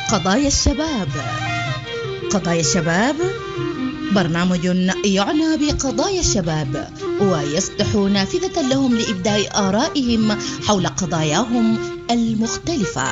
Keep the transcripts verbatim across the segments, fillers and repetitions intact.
قضايا الشباب. قضايا الشباب برنامج يعنى بقضايا الشباب ويفتح نافذة لهم لإبداء آرائهم حول قضاياهم المختلفة.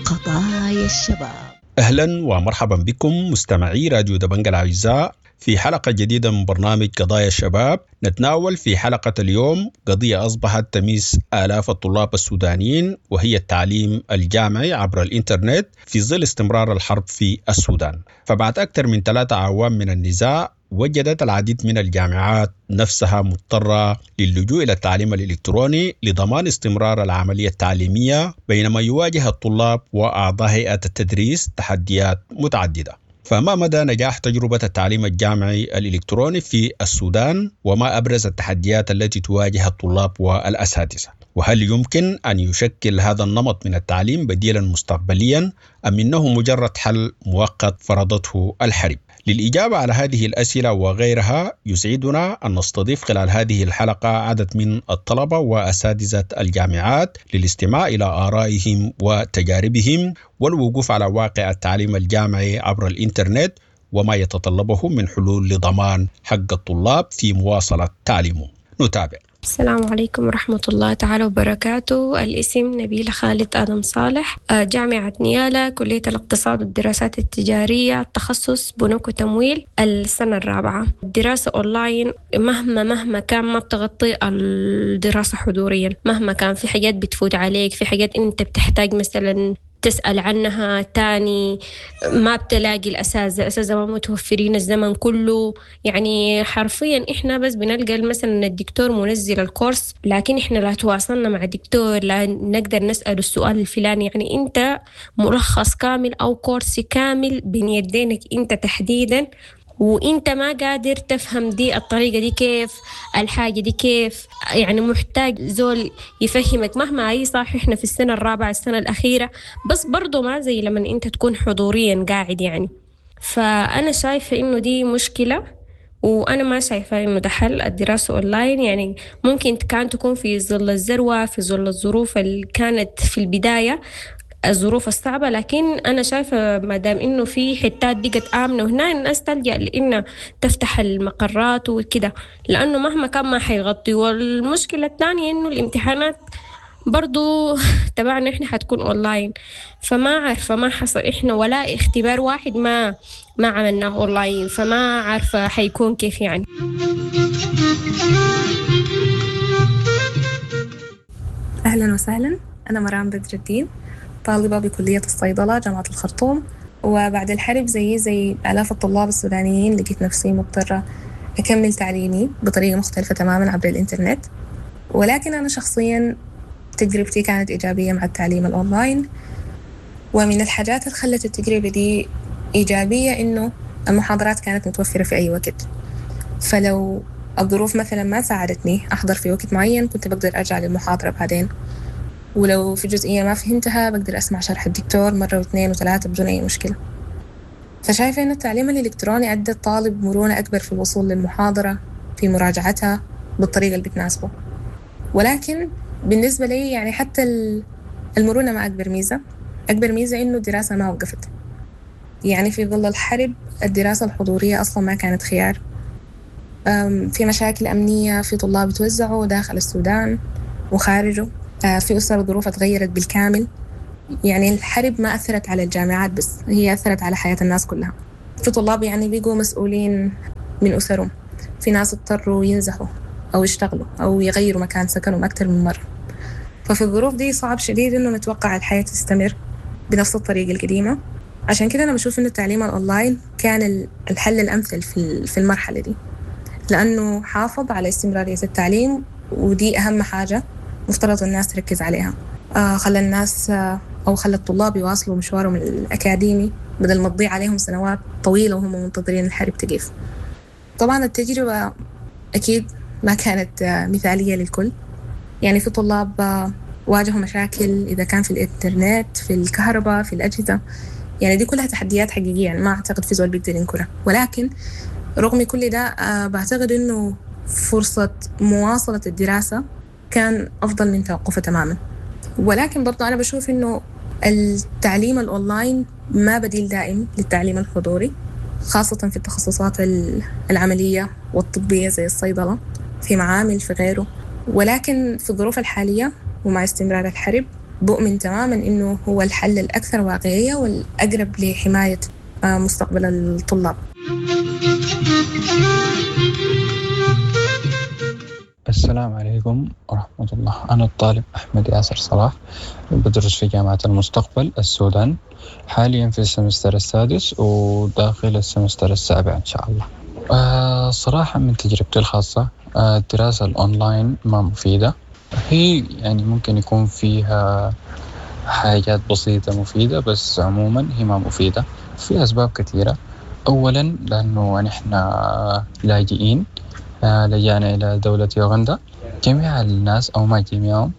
قضايا الشباب. أهلا ومرحبا بكم مستمعي راديو دبنج الأعزاء في حلقة جديدة من برنامج قضايا الشباب. نتناول في حلقة اليوم قضية أصبحت تميس آلاف الطلاب السودانيين، وهي التعليم الجامعي عبر الإنترنت في ظل استمرار الحرب في السودان. فبعد أكثر من ثلاثة أعوام من النزاع، وجدت العديد من الجامعات نفسها مضطرة للجوء إلى التعليم الإلكتروني لضمان استمرار العملية التعليمية، بينما يواجه الطلاب وأعضاء هيئة التدريس تحديات متعددة. فما مدى نجاح تجربة التعليم الجامعي الإلكتروني في السودان؟ وما أبرز التحديات التي تواجه الطلاب والأساتذة؟ وهل يمكن أن يشكل هذا النمط من التعليم بديلا مستقبليا أم إنه مجرد حل مؤقت فرضته الحرب؟ للإجابة على هذه الأسئلة وغيرها يسعدنا أن نستضيف خلال هذه الحلقة عدد من الطلبة وأساتذة الجامعات للاستماع إلى آرائهم وتجاربهم والوقوف على واقع التعليم الجامعي عبر الإنترنت وما يتطلبه من حلول لضمان حق الطلاب في مواصلة تعليمهم. نتابع. السلام عليكم ورحمة الله تعالى وبركاته. الاسم نبيلة خالد آدم صالح، جامعة نيالا، كلية الاقتصاد والدراسات التجارية، التخصص بنوك وتمويل، السنة الرابعة. الدراسة أونلاين مهما مهما كان ما بتغطي الدراسة حضوريا، مهما كان في حاجات بتفوت عليك، في حاجات أنت بتحتاج مثلا تسأل عنها تاني، ما بتلاقي الأساتذة، الأساتذة ما متوفرين الزمن كله. يعني حرفيا إحنا بس بنلقى مثلا الدكتور منزل الكورس، لكن إحنا لا تواصلنا مع الدكتور، لا نقدر نسأل السؤال الفلاني. يعني أنت ملخص كامل أو كورس كامل بين يدينك أنت تحديدا، وإنت ما قادر تفهم دي الطريقة دي كيف، الحاجة دي كيف، يعني محتاج زول يفهمك. مهما أي صح إحنا في السنة الرابعة السنة الأخيرة، بس برضو ما زي لما إنت تكون حضوريا قاعد يعني. فأنا شايفة إنه دي مشكلة، وأنا ما شايفة إنه ده حل الدراسة أونلاين. يعني ممكن كان تكون في ظل الذروة، في ظل الظروف اللي كانت في البداية، الظروف الصعبة، لكن أنا شايفة ما دام إنه في حتات بقت آمنة وهنا الناس تلجأ لإنها تفتح المقرات وكده، لأنه مهما كان ما حيغطي. والمشكلة الثانية إنه الامتحانات برضو تبعنا إحنا حتكون أونلاين، فما عارفة ما حصل إحنا ولا اختبار واحد ما ما عملناه أونلاين، فما عارفة حيكون كيف يعني. أهلا وسهلا، أنا مرام بدر الدين، طالبة بكلية الصيدلة جامعة الخرطوم. وبعد الحرب زي زي آلاف الطلاب السودانيين لقيت نفسي مضطرة أكمل تعليمي بطريقة مختلفة تماما عبر الإنترنت. ولكن أنا شخصيا تجربتي كانت إيجابية مع التعليم الأونلاين، ومن الحاجات اللي خلت التجربة دي إيجابية إنه المحاضرات كانت متوفرة في أي وقت، فلو الظروف مثلا ما ساعدتني أحضر في وقت معين كنت بقدر أرجع للمحاضرة بعدين، ولو في جزئية ما فهمتها بقدر أسمع شرح الدكتور مرة واثنين وثلاثة بدون أي مشكلة. فشايفة إن التعليم الإلكتروني أدى الطالب مرونة أكبر في الوصول للمحاضرة، في مراجعتها بالطريقة اللي بتناسبه. ولكن بالنسبة لي يعني حتى المرونة ما أكبر ميزة، أكبر ميزة إنه الدراسة ما وقفت. يعني في ظل الحرب الدراسة الحضورية أصلا ما كانت خيار، في مشاكل أمنية، في طلاب توزعوا داخل السودان وخارجه، في أسر ظروفها تغيرت بالكامل. يعني الحرب ما أثرت على الجامعات بس، هي أثرت على حياة الناس كلها. في طلاب يعني بيقوا مسؤولين من أسرهم، في ناس اضطروا ينزحوا أو يشتغلوا أو يغيروا مكان سكنهم أكثر من مرة. ففي الظروف دي صعب شديد إنه نتوقع الحياة تستمر بنفس الطريقة القديمة. عشان كده أنا بشوف إنه التعليم الأونلاين كان الحل الأمثل في المرحلة دي، لأنه حافظ على استمرارية التعليم، ودي أهم حاجة مفترض الناس تركز عليها. آه خلى الناس آه أو خلى الطلاب يواصلوا مشوارهم الأكاديمي بدل ما تضيع عليهم سنوات طويلة وهم منتظرين الحرب تقف. طبعا التجربة أكيد ما كانت آه مثالية للكل، يعني في طلاب آه واجهوا مشاكل إذا كان في الإنترنت، في الكهرباء، في الأجهزة، يعني دي كلها تحديات حقيقية، يعني ما أعتقد في زول بيقدر ينكرها. ولكن رغم كل ده آه بعتقد إنه فرصة مواصلة الدراسة كان أفضل من توقفه تماما. ولكن برضو أنا بشوف إنه التعليم الأونلاين ما بديل دائم للتعليم الحضوري، خاصة في التخصصات العملية والطبية زي الصيدلة، في معامل في غيره. ولكن في الظروف الحالية ومع استمرار الحرب بؤمن تماما إنه هو الحل الأكثر واقعية والأقرب لحماية مستقبل الطلاب. السلام عليكم ورحمة الله. أنا الطالب أحمد ياسر صلاح، بدرس في جامعة المستقبل السودان، حاليا في ال semester السادس وداخل ال semester السابع إن شاء الله. آه صراحة من تجربتي الخاصة، آه الدراسة الأونلاين ما مفيدة. هي يعني ممكن يكون فيها حاجات بسيطة مفيدة، بس عموما هي ما مفيدة في أسباب كثيرة. أولا لأنه نحن لاجئين، لجأنا إلى دولة يوغندا. جميع الناس أو ما جميعهم،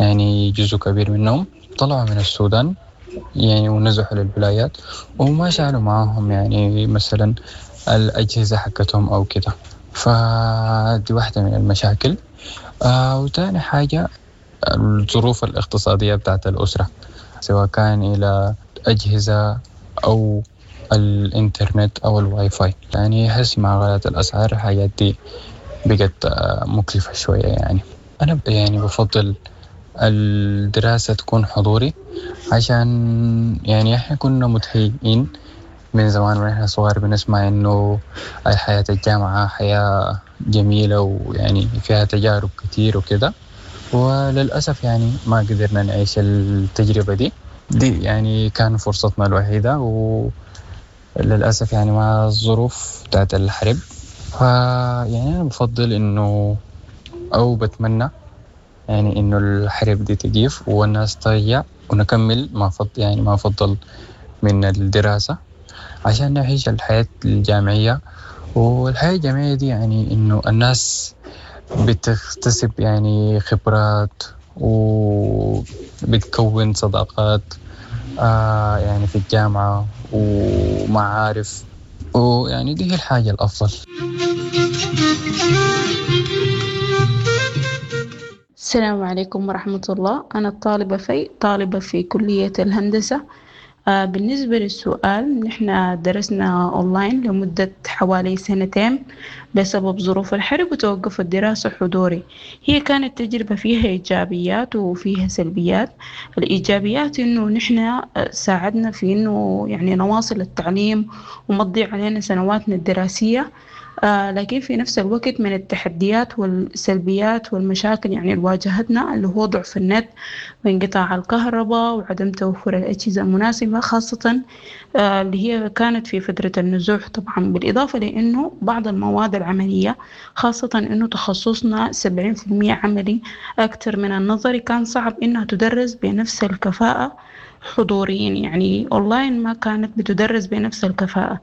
يعني جزء كبير منهم طلعوا من السودان يعني ونزحوا للولايات وما شالوا معاهم يعني مثلا الأجهزة حقتهم أو كده، فدي واحدة من المشاكل. آه وتاني حاجة الظروف الاقتصادية بتاعت الأسرة، سواء كان إلى أجهزة أو الإنترنت أو الواي فاي. يعني هسي مع غلاء الأسعار الحاجات دي بقت مكلفة شوية. يعني أنا يعني بفضل الدراسة تكون حضوري، عشان يعني إحنا كنا متهيئين من زمان ونحن صغار بنسمع إنه حياة الجامعة حياة جميلة ويعني فيها تجارب كتير وكده، وللأسف يعني ما قدرنا نعيش التجربة دي دي يعني كان فرصتنا الوحيدة، وللأسف يعني مع الظروف بتاعت الحرب. فيعني أنا بفضل إنه أو بتمنى يعني إنه الحرب دي تجيف والناس ترجع ونكمل ما فضل يعني ما فضل من الدراسة، عشان نعيش الحياة الجامعية. والحياة الجامعية دي يعني إنه الناس بتكتسب يعني خبرات وبتكون صداقات آه يعني في الجامعة ومعارف، ويعني دي هي الحاجة الأفضل. السلام عليكم ورحمة الله. أنا الطالبة في طالبة في كلية الهندسة. بالنسبة للسؤال، نحن درسنا أونلاين لمدة حوالي سنتين بسبب ظروف الحرب وتوقف الدراسة حضوري. هي كانت تجربة فيها إيجابيات وفيها سلبيات. الإيجابيات إنه نحن ساعدنا في إنه يعني نواصل التعليم وما تضيع علينا سنواتنا الدراسية، آه لكن في نفس الوقت من التحديات والسلبيات والمشاكل يعني اللي واجهتنا اللي هو ضعف النت وانقطاع الكهرباء وعدم توفر الأجهزة المناسبة، خاصة آه اللي هي كانت في فترة النزوح طبعا. بالإضافة لأنه بعض المواد العملية، خاصة أنه تخصصنا سبعين في المية عملي أكثر من النظري، كان صعب أنها تدرس بنفس الكفاءة حضوريا، يعني أونلاين ما كانت بتدرس بنفس الكفاءة.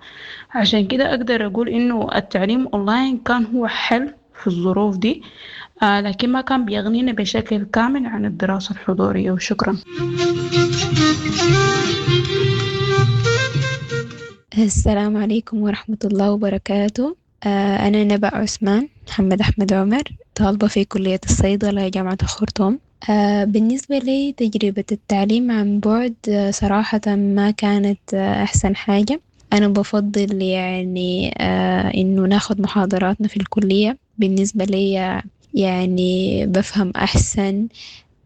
عشان كده أقدر أقول إنه التعليم أونلاين كان هو حل في الظروف دي، آه لكن ما كان بيغنينا بشكل كامل عن الدراسة الحضورية. وشكرا. السلام عليكم ورحمة الله وبركاته. آه أنا نبأ عثمان محمد أحمد عمر، طالبة في كلية الصيدلة جامعة الخرطوم. آه بالنسبة لي تجربة التعليم عن بعد آه صراحة ما كانت آه أحسن حاجة. أنا بفضل يعني آه إنه ناخد محاضراتنا في الكلية. بالنسبة لي يعني بفهم أحسن،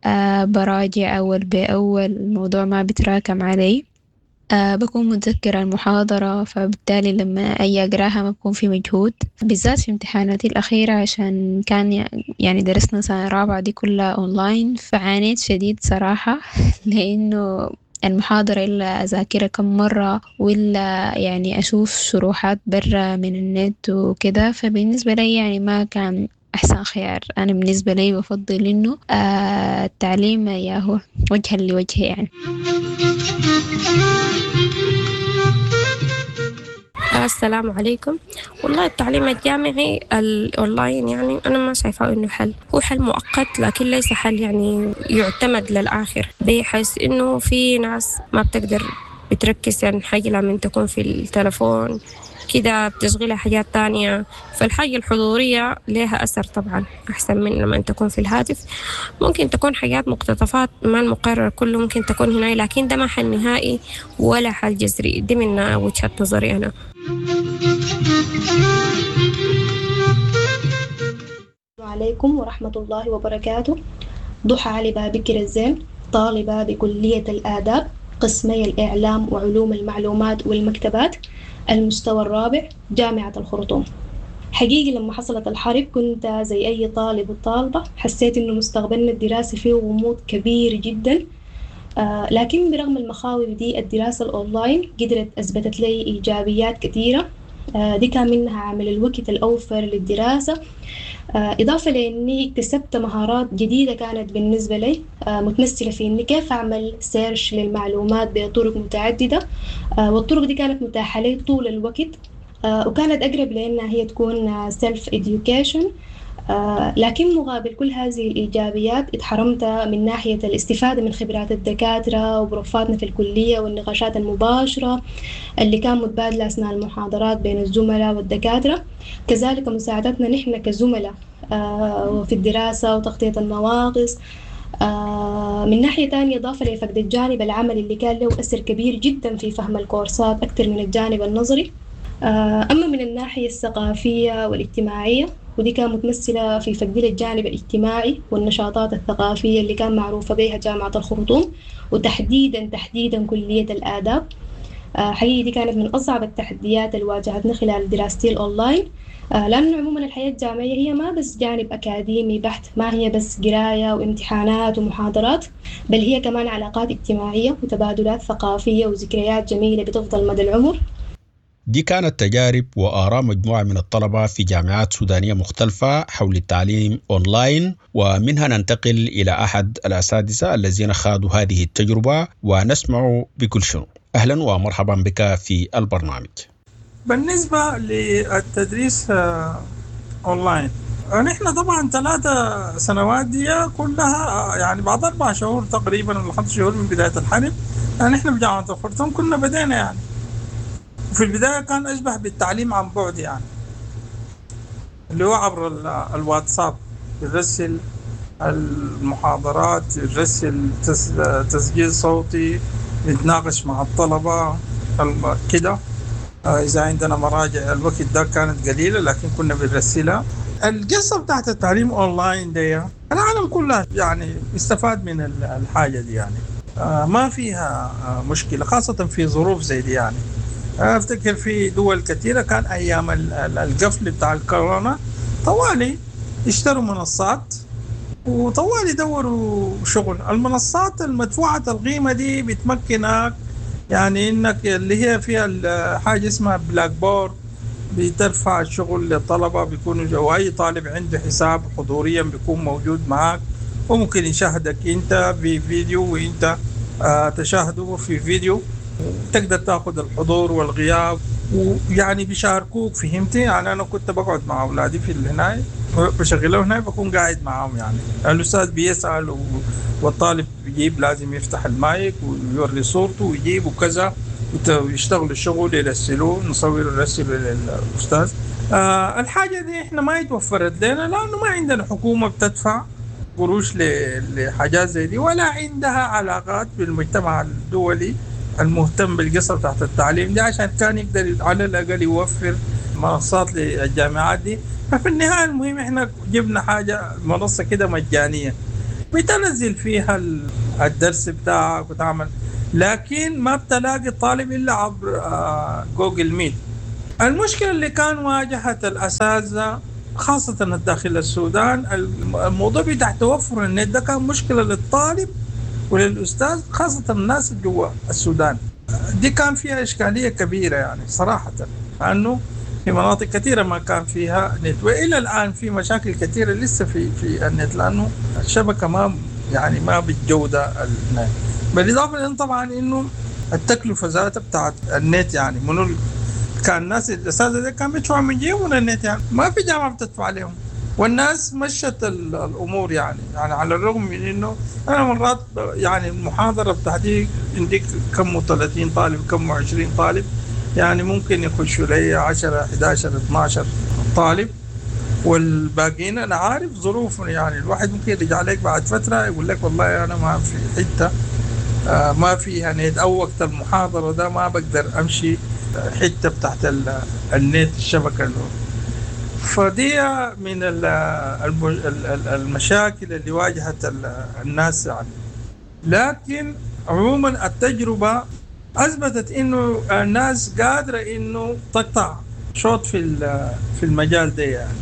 آه براجع أول بأول، الموضوع ما بتراكم علي، أه بكون متذكرة المحاضرة، فبالتالي لما أجي أقراها ما بكون في مجهود، بالذات في امتحاناتي الأخيرة عشان كان يعني درسنا سنة رابعة دي كلها أونلاين، فعانيت شديد صراحة لأنه المحاضرة إلا أذاكرها كم مرة ولا يعني أشوف شروحات برا من النت وكده، فبالنسبة لي يعني ما كان أحسن خيار. أنا بالنسبة لي بفضل إنه آه التعليم ياهو وجها لوجه يعني. السلام عليكم. والله التعليم الجامعي الأونلاين يعني أنا ما شايفاه إنه حل، هو حل مؤقت لكن ليس حل يعني يعتمد للآخر، بحيث إنه في ناس ما بتقدر بتركز يعني حاجة لما تكون في التلفون كده بتشغلها حاجات تانية. فالحاجة الحضورية لها أثر طبعا أحسن من لما تكون في الهاتف. ممكن تكون حاجات مقتطفات ما المقرر كله ممكن تكون هنا، لكن ده ما حل نهائي ولا حل جذري. دي من وجهة نظري أنا. عليكم ورحمة الله وبركاته. ضحى علي بابكر الزين، طالبة بكلية الآداب قسمي الإعلام وعلوم المعلومات والمكتبات، المستوى الرابع، جامعة الخرطوم. حقيقي لما حصلت الحرب كنت زي أي طالب وطالبة، حسيت إنه مستقبلنا الدراسي فيه غموض كبير جدا، آه لكن برغم المخاوف دي الدراسة الأونلاين قدرت أثبتت لي إيجابيات كثيرة. آه دي كان منها عامل الوقت الأوفر للدراسة، آه إضافة لأني اكتسبت مهارات جديدة كانت بالنسبة لي، آه متمثلة في إني كيف أعمل search للمعلومات بطرق متعددة، آه والطرق دي كانت متاحة لي طول الوقت، آه وكانت أقرب لأنها هي تكون self education. آه لكن مقابل كل هذه الإيجابيات اتحرمت من ناحية الاستفادة من خبرات الدكاترة وبروفاتنا في الكلية والنقاشات المباشرة اللي كان متبادلة أثناء المحاضرات بين الزملاء والدكاترة، كذلك مساعدتنا نحن كزملاء آه في الدراسة وتغطية النواقص. آه من ناحية تانية إضافة لفقد الجانب العملي اللي كان له أثر كبير جدا في فهم الكورسات أكثر من الجانب النظري. آه أما من الناحية الثقافية والاجتماعية، ودي كانت متمثلة في فقد الجانب الاجتماعي والنشاطات الثقافية اللي كان معروفة بها جامعة الخرطوم، وتحديدا تحديدا كلية الآداب. حقيقي دي كانت من أصعب التحديات اللي واجهتنا خلال دراستي الأونلاين، لأنه عموما الحياة الجامعية هي ما بس جانب أكاديمي بحت، ما هي بس قراية وامتحانات ومحاضرات، بل هي كمان علاقات اجتماعية وتبادلات ثقافية وذكريات جميلة بتفضل مدى العمر. دي كانت تجارب وآراء مجموعة من الطلبة في جامعات سودانية مختلفة حول التعليم أونلاين، ومنها ننتقل إلى أحد الأساتذة الذين خاضوا هذه التجربة ونسمع بكل شنو. أهلا ومرحبا بك في البرنامج. بالنسبة للتدريس أونلاين، نحن طبعا ثلاثة سنوات دي كلها يعني بعد أربع شهور تقريبا ولا خمس شهور من بداية الحرب نحن بجامعة الخرطوم كنا بدينا يعني. في البداية كان أشبه بالتعليم عن بعد يعني، اللي هو عبر الواتساب، يرسل المحاضرات، يرسل تسجيل صوتي، نتناقش مع الطلبة كده. إذا عندنا مراجع الوقت ده كانت قليلة لكن كنا بنرسلها. القصة بتاعت التعليم أونلاين دي العالم كله يعني استفاد من الحاجة دي يعني، ما فيها مشكلة خاصة في ظروف زي دي يعني. أفتكر في دول كثيرة كان أيام القفل بتاع الكورونا طوالي اشتروا منصات وطوالي دوروا شغل. المنصات المدفوعة القيمة دي بتمكنك يعني إنك اللي هي فيها حاجة اسمها Blackboard، بترفع الشغل للطلبة، بيكونوا وأي طالب عنده حساب حضوريا بيكون موجود معك وممكن يشاهدك أنت في فيديو وأنت تشاهده في فيديو، وتقدر تاخذ الحضور والغياب ويعني بيشاركوك. فهمتي يعني؟ انا كنت بقعد مع اولادي في هناك بشغلهم هناك، بكون قاعد معاهم يعني. الاستاذ بيسال والطالب بيجيب، لازم يفتح المايك ويوري صورته ويجيب وكذا، ويشتغلوا الشغل يرسلوه، نصور ونرسله للاستاذ. آه الحاجه دي احنا ما يتوفرت لنا لانه ما عندنا حكومه بتدفع قروش لحاجات زي دي، ولا عندها علاقات بالمجتمع الدولي المهتم بالقصة بتاعت التعليم دي عشان كان يقدر على الأقل يوفر منصات للجامعات دي. ففي النهاية المهم احنا جبنا حاجة منصة كده مجانية بتنزل فيها الدرس بتاعك وتعمل، لكن ما بتلاقي الطالب إلا عبر Google Meet. المشكلة اللي كان واجهت الأساتذة خاصة الداخل السودان، الموضوع بتاع توفر النت ده كان مشكلة للطالب وللأستاذ، خاصة الناس اللي جوا السودان. دي كان فيها إشكالية كبيرة يعني صراحة، لأنه في مناطق كثيرة ما كان فيها نت، وإلى الآن في مشاكل كثيرة لسه في في النت، لأنه الشبكة ما يعني ما بالجودة النت. بالإضافة لأن طبعا إنه التكلفة ذاتها بتاعت النت يعني منو كان الناس الأساتذة دي كان بيدفعوا من جيبهم النت يعني، ما في جامعة بتدفع عليهم. والناس مشت الأمور يعني يعني على الرغم من إنه أنا مرات يعني المحاضرة بتاعتي عندك كم ثلاثين طالب كم عشرين طالب، يعني ممكن يخشوا لي عشرة أحد عشر اثنا عشر طالب، والباقيين أنا عارف ظروفهم. يعني الواحد ممكن يرجع لك بعد فترة يقول لك والله أنا ما في حتة ما فيها نت، أو وقت المحاضرة ده ما بقدر أمشي حتة بتاعت النت الشبكة. فدي من المشاكل اللي واجهت الناس يعني. لكن عموما التجربة أثبتت إنه الناس قادرة إنه تقطع شوط في في المجال ده يعني.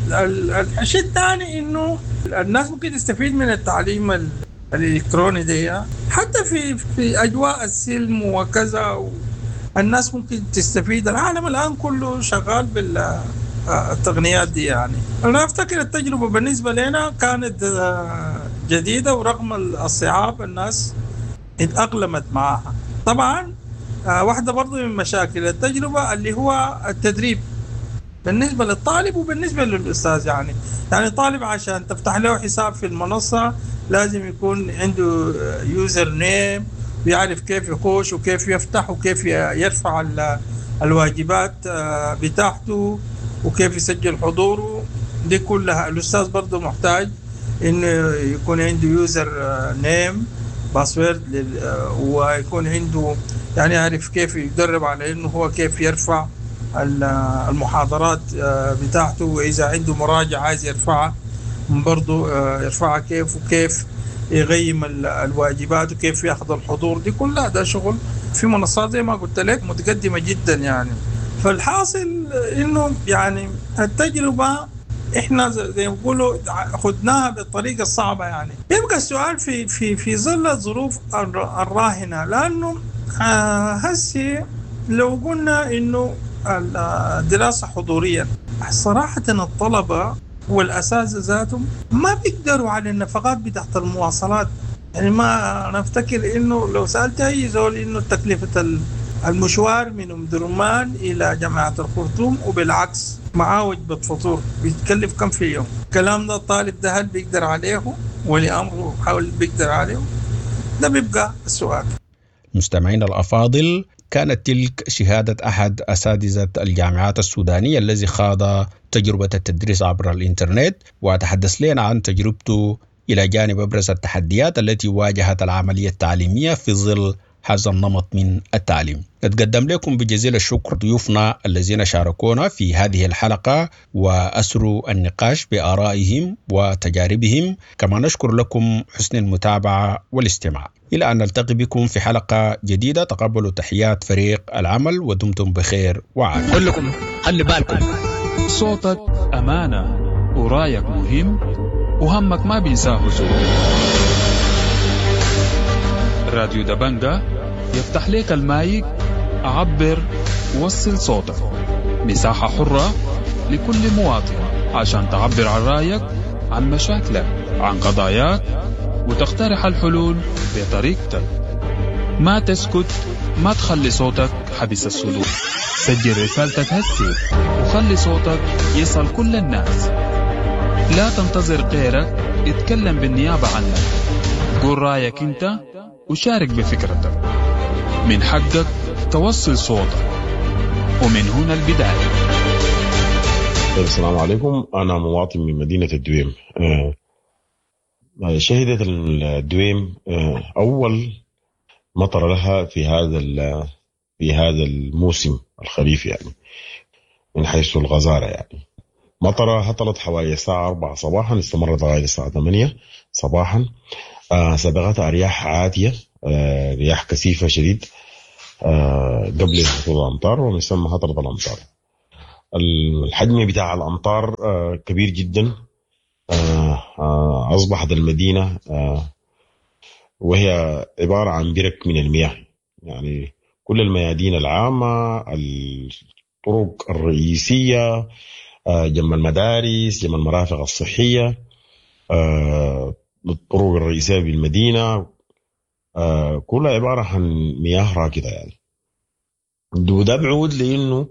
الشيء الثاني إنه الناس ممكن تستفيد من التعليم الإلكتروني ده حتى في في أجواء السلم وكذا، الناس ممكن تستفيد. العالم الآن كله شغال بالتقنيات دي يعني. أنا أفتكر التجربة بالنسبة لنا كانت جديدة، ورغم الصعاب الناس اتأقلمت معها. طبعا واحدة برضو من مشاكل التجربة اللي هو التدريب بالنسبة للطالب وبالنسبة للأستاذ. يعني يعني الطالب عشان تفتح له حساب في المنصة لازم يكون عنده user name، ويعرف كيف يخش وكيف يفتح وكيف يرفع الواجبات بتاعته وكيف يسجل حضوره. دي كلها الأستاذ برضو محتاج إنه يكون عنده user name password، ويكون عنده يعني يعرف كيف يدرب على إنه هو كيف يرفع المحاضرات بتاعته، وإذا عنده مراجعة عايز يرفعها برضو يرفعها كيف، وكيف يغيم الواجبات وكيف ياخذ الحضور. دي كلها ده شغل في منصات زي ما قلت لك متقدمة جدا يعني. فالحاصل إنه يعني التجربة إحنا زي ما بيقولوا خدناها بالطريقة الصعبة يعني. يبقى السؤال في في في ظل الظروف الراهنة، لأنه هسي لو قلنا إنه الدراسة حضوريا، صراحة الطلبة والأساتذة ذاتهم ما بيقدروا على النفقات بتاعت المواصلات. يعني ما أنا أفتكر إنه لو سألت أي زول إنه تكلفة المشوار من أم درمان إلى جامعة الخرطوم وبالعكس معاه وجبة فطور بيتكلف كم في اليوم؟ الكلام ده الطالب ده هل بيقدر عليه ولي أمره حاول بيقدر عليه؟ ده بيبقى السؤال. مستمعينا الأفاضل، كانت تلك شهادة أحد أساتذة الجامعات السودانية الذي خاض تجربة التدريس عبر الإنترنت، وتحدث لنا عن تجربته إلى جانب أبرز التحديات التي واجهت العملية التعليمية في ظل هذا النمط من التعليم. نتقدم لكم بجزيل الشكر ضيوفنا الذين شاركونا في هذه الحلقة وأسروا النقاش بآرائهم وتجاربهم، كما نشكر لكم حسن المتابعة والاستماع. إلى أن نلتقي بكم في حلقة جديدة، تقبلوا تحيات فريق العمل ودمتم بخير وعافية. كلكم خلي بالكم، صوتك أمانة ورايك مهم وهمك ما بينساه زول. راديو دبنجة يفتح لك المايك، عبر وصل صوتك، مساحة حرة لكل مواطن عشان تعبر عن رأيك، عن مشاكلك، عن قضاياك، وتقترح الحلول بطريقتك. ما تسكت، ما تخلي صوتك حبس الصدور. سجل رسالتك هسي وخلي صوتك يصل كل الناس. لا تنتظر غيرك يتكلم بالنيابة عنك. قول رأيك انت وشارك بفكرتك. من حقك توصل صوتك، ومن هنا البداية. طيب، السلام عليكم. أنا مواطن من مدينة الدويم. شهدت الدويم أول مطر لها في هذا في هذا الموسم الخريف، يعني من حيث الغزارة. يعني مطرة هطلت حوالي الساعة أربعة صباحا، استمرت لغاية الساعة ثمانية صباحا. سبقتها رياح عاتية، رياح كثيفة شديد قبل هطول الأمطار، ومن ثم هطلت الأمطار. الحجم بتاع الأمطار كبير جدا. أصبحت المدينة وهي عبارة عن برك من المياه، يعني كل الميادين العامة، الطرق الرئيسية، جنب المدارس، جنب المرافق الصحية، الطرق الرئيسية بالمدينة، كلها عبارة عن مياه راكدة. يعني وده بعود لأنه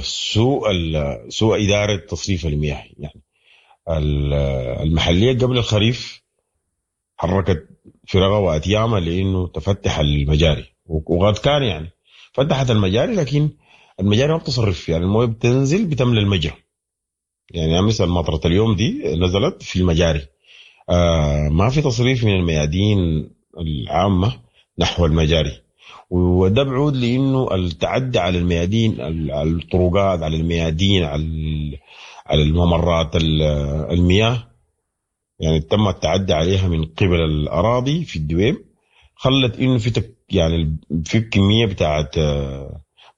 سوء سوء إدارة تصريف المياه. يعني المحلية قبل الخريف حركت فرقها واتيامها لانه تفتح المجاري، وقد كان يعني فتحت المجاري، لكن المجاري ما بتصرف، يعني المويه بتنزل بتملى المجرى. يعني مثل مطرة اليوم دي نزلت في المجاري، آه ما في تصريف من الميادين العامة نحو المجاري، وده بعود لانه التعدي على الميادين، على الطرقات، على الميادين، على على الممرات المياه، يعني تم التعدي عليها من قبل الاراضي في الدويم، خلت انه في تك يعني في كمية بتاعت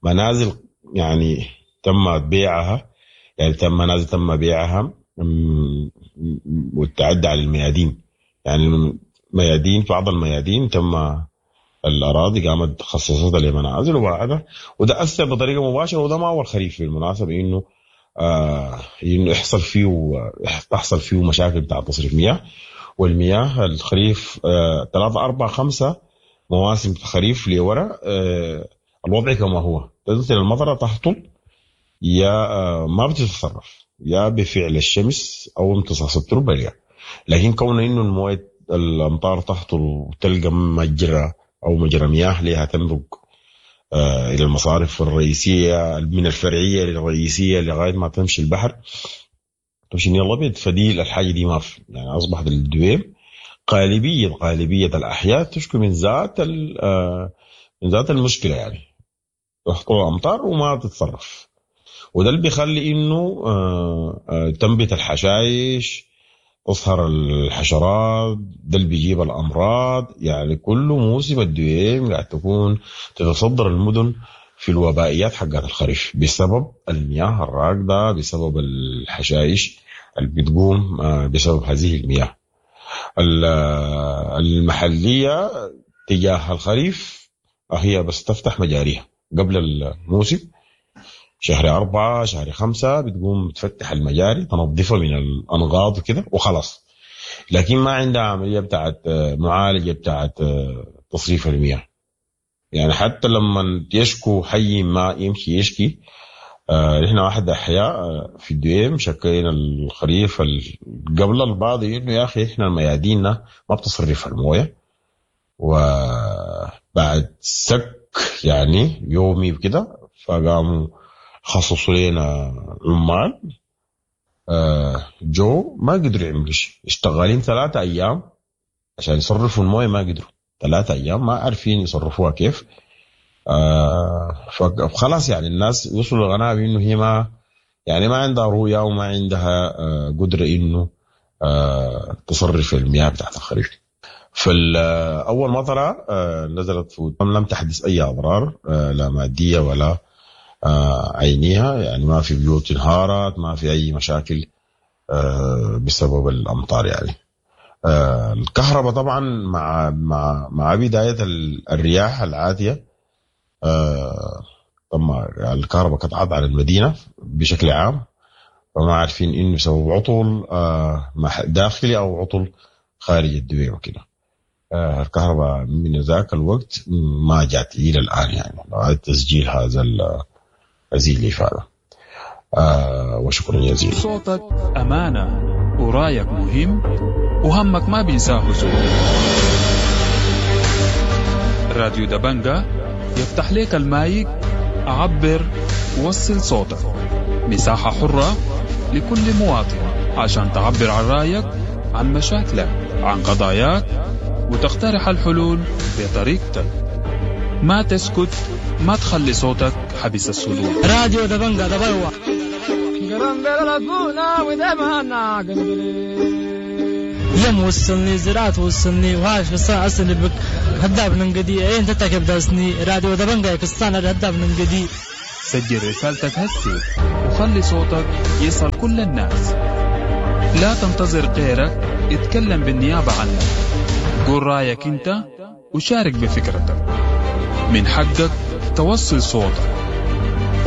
منازل يعني تم بيعها، يعني تم منازل تم بيعها والتعدي على الميادين، يعني ميادين بعض الميادين تم الاراضي قامت خصصتها لمنازل وبعدها، وده اثر بطريقة مباشرة، وده ما اول خريف بالمناسبة انه آه انه يحصل فيه تحصل فيه مشاكل بتاع تصريف مياه. والمياه الخريف آه ثلاثة أربعة خمسة مواسم خريف لورا آه الوضع كما هو، تنزل المطرة تهطل يا آه ما بتتصرف يا بفعل الشمس او امتصاص التربة ليها، لكن كون انه المويه الامطار تهطل وتلقى مجرى او مجرى مياه لها تمرق آه الى المصارف الرئيسية من الفرعية للرئيسيه لغاية ما تمشي البحر تمشي النيل الابيض، فدي الحاجة دي ما في. يعني اصبحت الدويم غالبية غالبية الاحياء تشكو من ذات آه من ذات المشكلة، يعني تهطل الامطار وما تتصرف، وده اللي بيخلي انه آه آه تنبت الحشائش، تظهر الحشرات، ده اللي بيجيب الامراض. يعني كل موسم الدويم قاعد تكون تتصدر المدن في الوبائيات حقات الخريف بسبب المياه الراكده، بسبب الحشائش اللي بتقوم بسبب هذه المياه. المحلية تجاه الخريف هي بس تفتح مجاريها قبل الموسم، شهر أربعة شهر خمسة بتقوم تفتح المجاري تنظفها من الأنقاض وكده وخلاص، لكن ما عندها عملية بتاعت معالجة بتاعت تصريف المياه. يعني حتى لما يشكو حي ما يمشي يشكي، آه نحن واحد أحياء في الدويم شكينا الخريف قبل البعض إنه يا أخي إحنا مياديننا ما بتصرف الموية، وبعد سك يعني يومي وكده فقاموا خصصوا لنا عمال آه جو ما قدروا يعملوا شيء، اشتغالين ثلاثة أيام عشان يصرفوا الموية، ما قدروا ثلاثة أيام ما عارفين يصرفوها كيف. آه فخلاص يعني الناس وصلوا للقناعة بإنه هي ما يعني ما عندها رؤية وما عندها آه قدرة إنه آه تصرف المياه بتاعت الخريف. فالأول مطرة آه نزلت في لم تحدث أي أضرار آه لا مادية ولا آه عينيها، يعني ما في بيوت انهارت، ما في أي مشاكل آه بسبب الأمطار. يعني آه الكهرباء طبعا مع مع مع بداية الرياح العاتية آه طبعا الكهرباء قطعت على المدينة بشكل عام، فما عارفين إنه بسبب عطل آه داخلي أو عطل خارج الدويم وكده. آه الكهرباء من ذاك الوقت ما جات إلى الآن، يعني لغاية تسجيل هذا هذه الإفادة. آه وشكرا جزيلا. صوتك أمانة ورايك مهم وهمك ما بينساه زول. راديو دبنجة يفتح لك المايك، عبر وصل صوتك، مساحة حرة لكل مواطن عشان تعبر عن رأيك، عن مشاكلك، عن قضاياك، وتقترح الحلول بطريقتك. ما تسكت، ما تخلي صوتك حبس الصدور. راديو دبنجة دبلوة. يم وصلني زراعة وصلني وهاش بس أصل بك هداب ننقدي إيه أنت تكب داسني راديو دبنجة كستان هداب ننقدي. سجل رسالتك هسي وخلي صوتك يصل كل الناس. لا تنتظر غيرك يتكلم بالنيابة عنك. قول رأيك أنت وشارك بفكرتك. من حقك توصل صوتك،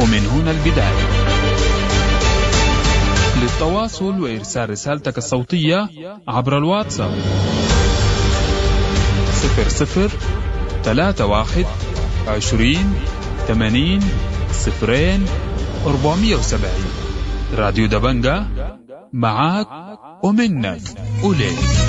ومن هنا البداية. للتواصل وإرسال رسالتك الصوتية عبر الواتساب صفر صفر ثلاثة واحد عشرين ثمانين صفرين أربعمية وسبعين. راديو دبنجة معاك ومنك وليك.